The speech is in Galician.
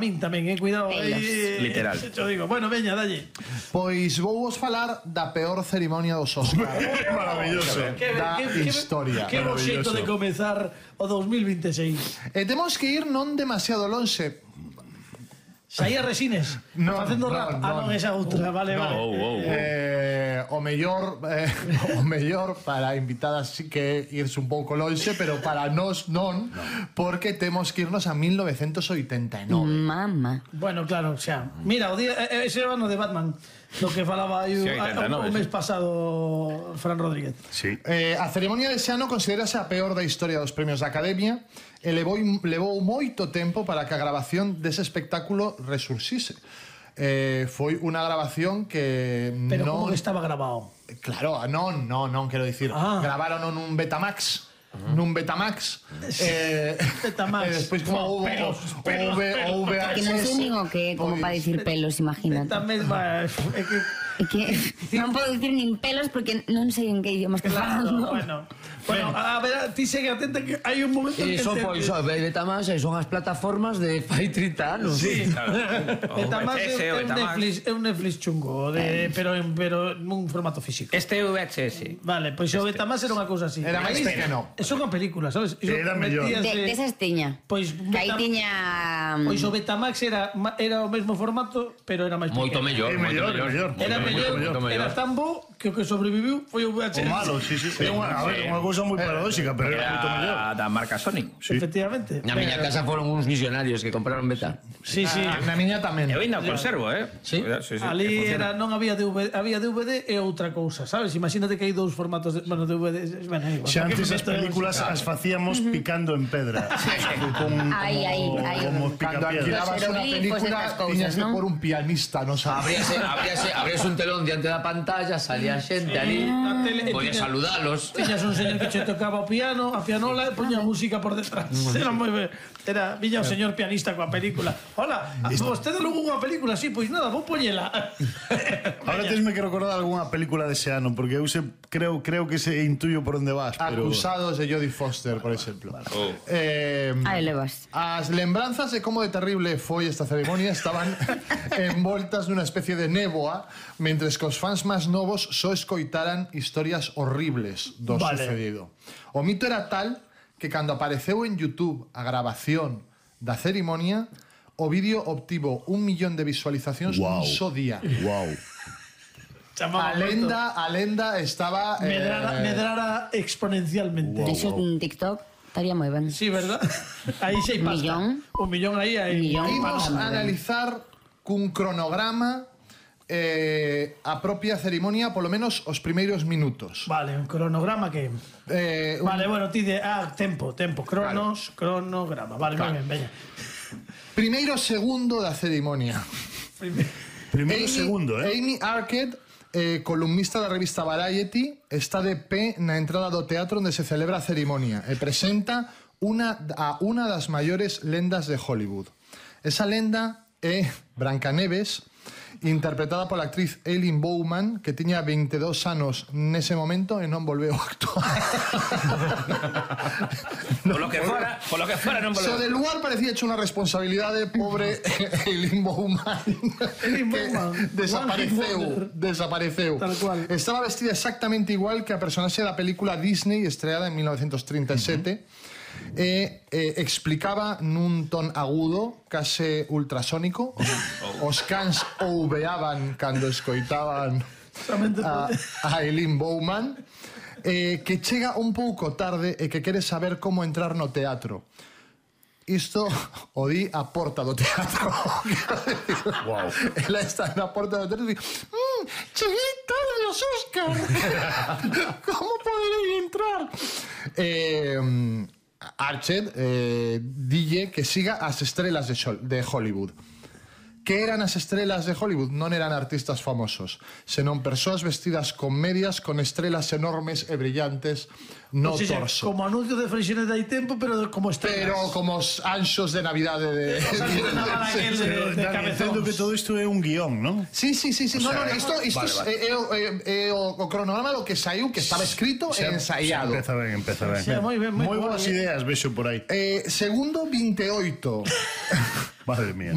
min tamén, cuidado. Literal. Xo digo, bueno, veña, dalle. Pois vou vos falar da peor cerimonia dos Oscar Maravilloso. da historia. Que bo xeito de comezar o 2026. E temos que ir non demasiado lonxe. Saía Resines facendo rap. Non, esa outra, vale. O mellor para invitadas sí que irse un pouco lonxe, pero para nós non, porque temos que irnos a 1989. Mamá. Bueno, claro, xa. Mira, o día ese ano de Batman, lo que falaba aí o mes pasado Fran Rodríguez. Sí. A cerimonia dese ano considerase a peor da historia dos premios da Academia e levou moito tempo para que a grabación dese espectáculo resurxise. Foi unha grabación que Pero non... como que estaba grabado? Claro, non, quero dicir, gravaron nun Betamax. Nun Betamax. Betamax. E despois como houve VHS. Que non sei nin o que, como para dicir pelos, imagínate. Tamén va... É que non podo dicir nin pelos porque non sei en que idioma está falando. Bueno, a ver, ti segue atenta que hai un momento en que... Iso, pois, Betamax son as plataformas de fai 30 anos. Sí, Betamax é un Netflix chungo, pero nun formato físico. Este é o VHS. Vale, pois o Betamax era unha cousa así. Era máis pequeno. É unha película, sabes? Era mellor. Desas tiña. Pois que aí tiña... Pois o Betamax era o mesmo formato, pero era máis pequeno. Moito mellor, moito mellor. Era mellor, era tan bo que o que sobreviviu foi o VHS. O malo, sí. É unha cousa moi paradóxica, pero era moito mellor. Da marca Sony. Efectivamente. Na miña casa foron uns misionarios que compraron Beta. Sí. Na miña tamén. Eu ainda conservo, Sí. Ali era, non había DVD, había DVD e outra cousa, sabes? Imagínate que hai dous formatos de, bueno, DVD, bueno, igual. Xa antes as películas as facíamos picando en pedra. Como Cando picapiedras. alquilabas unha película tiñas que por un pianista, non sabes. Abríase un telón diante da pantalla, salía xente ali, podía saludalos. Tiñas un señor que che tocaba o piano, a pianola e poña música por detrás. Era moi ben. Era viña o señor pianista coa película. Hola, vostede logo unha película así, pois nada, vou poñela. Ahora tesme que recordar algunha película dese ano, porque eu creo que se intuyo por onde vas, pero... Acusados de Jodie Foster, por exemplo. Aí levas. As lembranzas de como de terrible foi esta ceremonia estaban envoltas nunha especie de néboa, mentres que os fans máis novos só escoitaran historias horribles do sucedido. O mito era tal que cando apareceu en YouTube a grabación da ceremonia, o vídeo obtivo 1 millón de visualizacións nun só día. A lenda estaba... Medrara exponencialmente. De xo un TikTok estaría moi ben. Sí, verdad? Aí xe pasta. Un millón aí. Imos a analizar cun cronograma a propia ceremonia, polo menos os primeiros minutos. Vale, un cronograma que... Vale, bueno, ti de... tempo, cronograma. Vale, moi ben, veña. Primeiro segundo da ceremonia. Primeiro segundo, Amy Arcade, columnista da revista Variety, está de pé na entrada do teatro onde se celebra a ceremonia e presenta a unha das maiores lendas de Hollywood. Esa lenda é Brancaneves, interpretada pola actriz Eileen Bowman, que tiña 22 anos nese momento e non volveu a actuar. Polo que fora non volveu. So, del lugar parecía hecho unha responsabilidade, pobre Eileen Bowman, que desapareceu. Estaba vestida exactamente igual que a personaxe da película Disney estreada en 1937 e explicaba nun ton agudo, case ultrasónico. Os cans ouveaban cando escoitaban a Eileen Bowman, que chega un pouco tarde e que quere saber como entrar no teatro. Isto o di a porta do teatro. Ela está na porta do teatro e di: cheguei tarde aos Oscar. Como poderei entrar? Arched dille que siga as estrelas de Hollywood. Que eran as estrelas de Hollywood? Non eran artistas famosos, senón persoas vestidas con medias con estrelas enormes e brillantes no torso. Como anuncio de Freixenet hai tempo, pero como estrelas. Pero como os anxos de Navidade de Entendo que todo isto é un guión, non? Sí. No, isto é o cronograma do que saiu, que estaba escrito e ensaiado. Empeza ben. Moi boas ideas vexo por aí. Segundo 28. Madre mía.